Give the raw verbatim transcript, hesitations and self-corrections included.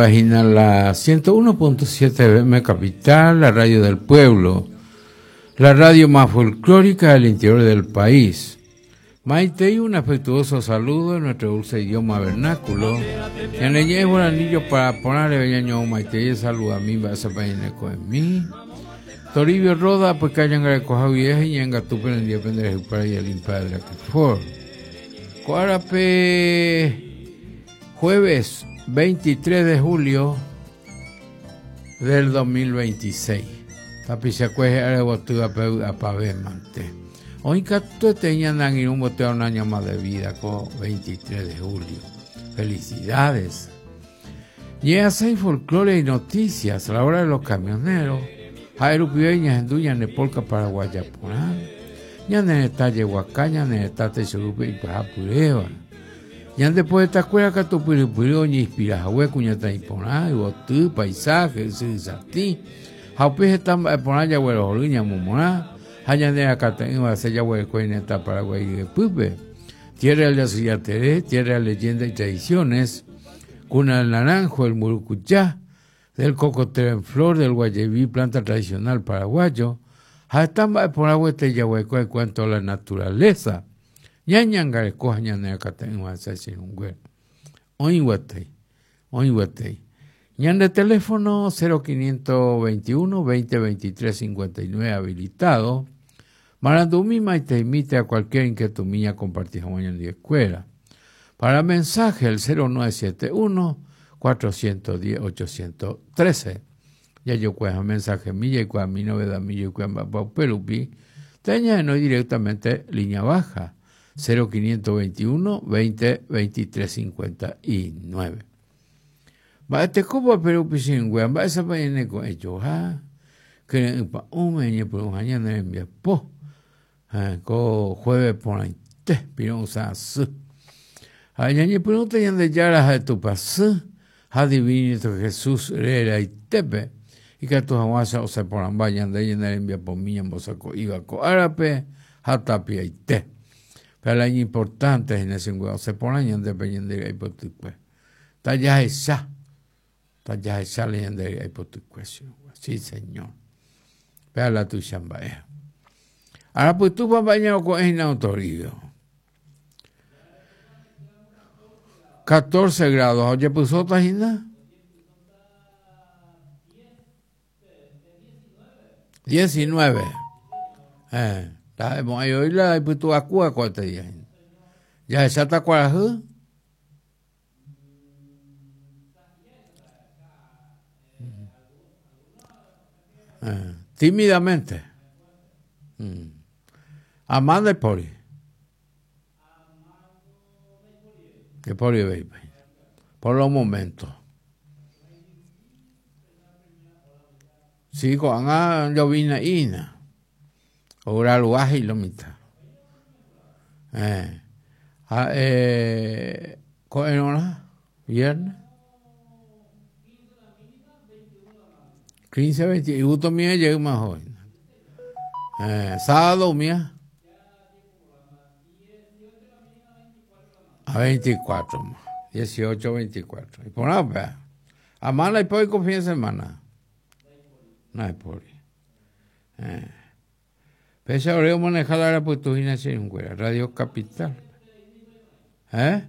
Página la ciento uno punto siete F M Capital, la radio del pueblo, la radio más folclórica del interior del país. Maite y un afectuoso saludo en nuestro dulce idioma vernáculo. En el llevo el anillo para ponerle bellaño Maite y saluda a mí, va a ser con mí. Toribio Roda, pues que hayan recogido vieja y en Gatupe en el día de para y el impa de la que for. Cuarape, jueves veintitrés de julio del dos mil veintiséis. Tapichacueje arebotuga peu apave mante. Hoy catu teñan en un boteo un año más de vida con veintitrés de julio. Felicidades. Y así folclore y noticias a la hora de los camioneros. Jairo Pibeña, Enduña, Nepolca, Paraguaya, Porán. Ñane detalle Huacaña, Netate, Churupe y Pajapureva. Ñan después de esta escuela, Catupiripiro, Ñispirajahue, Cuñata y Porán, y Botú, paisaje, Sisatí. Jaupije tamba Porán, Yahuero, Joluña, Mumorá. Hañanera, Cataín, Basella, Huecueneta, Paraguay y de Pupe. Tierra de la Suyateré, tierra de leyendas y tradiciones. Cuna del Naranjo, el Murucuyá, del cocotero en flor, del guayebí, planta tradicional paraguayo. Jatamba por agua este yahueco en cuanto a la naturaleza. Ñañangareco, ñanera, Cataín, Basella, Chirungüe. Oinguatei, oinguatei. Ñan de teléfono cero quinientos veintiuno, veinte veintitrés cincuenta y nueve habilitado. Marandumi te imite a cualquier inquietud mía compartida mañana de escuela. Para mensaje el cero nueve siete uno, cuatrocientos diez, ochocientos trece. Ya yo cueja mensaje mía y cueja mi novedad mía y cueja perupi. Teña no directamente línea baja cero quinientos veintiuno, veinte veintitrés cincuenta y nueve. Va este cubo perupi sin wea, va esa pa yene con hecho, ja. Que pa un meñe por un año en mi po. Ko jueves por ahí te pirón sa su. Ay ñe pregunta yande yara de tu pasú. Ha divino Jesús era y tepe. Y que tu aguasa o se por amba yande yende envía por mí en bosaco iba ko árabe hatapia y te. Pero la importante es en ese o se por ahí yande pe yende ahí por tu pues. Talla esa. Talla esa le yande ahí por tu cuestión. Sí, señor. Pero la tu chamba es. Ahora pues tú vas bañado con el autoridad. catorce grados. Oye, puso tajina. diecinueve. Eh, la hoy la puto acua cuatro días. Ya esa está cuarajú. Eh, tímidamente. Mm. Amanda y Pori. Que Pori baby. Por los momentos. Sí, con a llovina ina. Ora luaje y lo mitad. Eh. Ah, eh, con hora viernes. quince, veinte, y gusto mío llega más joven. Eh, sábado mía. A veinticuatro, dieciocho, veinticuatro. Y por nada, pues. Amanda y por con fin de semana. No hay por. Eh. Pese a Oreo manejar la puestujina sin Radio Capital. ¿Eh?